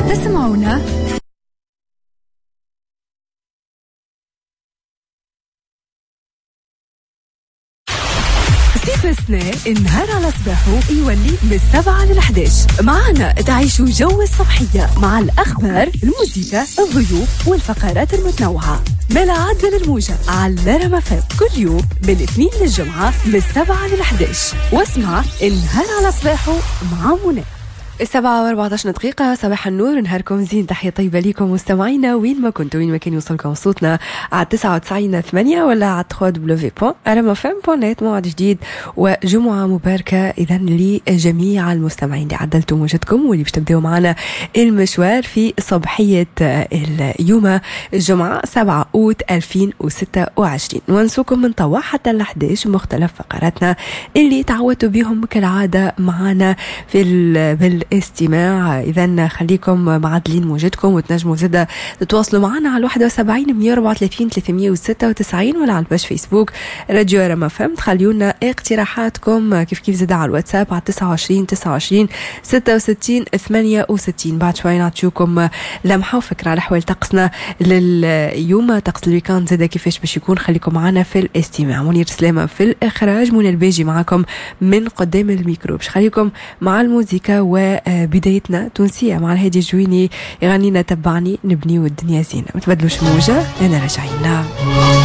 تسمعونا صيف السنة النهار على صباحه يولي من 7 لل11. معنا تعيشوا جو الصبحية مع الأخبار، الموسيقى، الضيوف والفقرات المتنوعة. ملا عدل الموجة على رما FM كل يوم من الاثنين للجمعة من 7 لل11. واسمع النهار على صباحه مع منى. 7:14، صباح النور، نهاركم زين، تحية طيبة ليكم مستمعينا وين ما كنتوا، وين ما كان يوصلكم صوتنا على 99.8 ولا على 3w.rmfm.net. موعد جديد وجمعة مباركة إذا لجميع المستمعين اللي عدلتوا موجتكم واللي باش تبداو معنا المشوار في صبحية اليوم الجمعة 7 أوت 2026. ونسوكم من توا حتى ل 11 مختلف فقراتنا اللي تعودتوا بهم كالعادة معنا في بالاستماع. إذا خليكم معدلين موجتكم وتنجموا زادة تتواصلوا معنا على 71 134 396 ولا على ال page فيسبوك راديو رما FM. تخليونا اقتراحاتكم كيف كيف زادة على الواتساب على 29 29 66 68. بعد شوي نعطيوكم لمحة وفكرة على أحوال طقسنا لليوم، طقس ال week-end زادة كيفاش باش يكون. خليكم معنا في الاستماع. منير سلامة في الإخراج، منى الباجي معكم من قدام الميكرو. باش خليكم مع الموسيقى وبدايتنا تونسية مع الهادي الجويني يغنينا تبعني نبنيو الدنيا زينة. ما تبدلوش الموجة، أنا راجعين.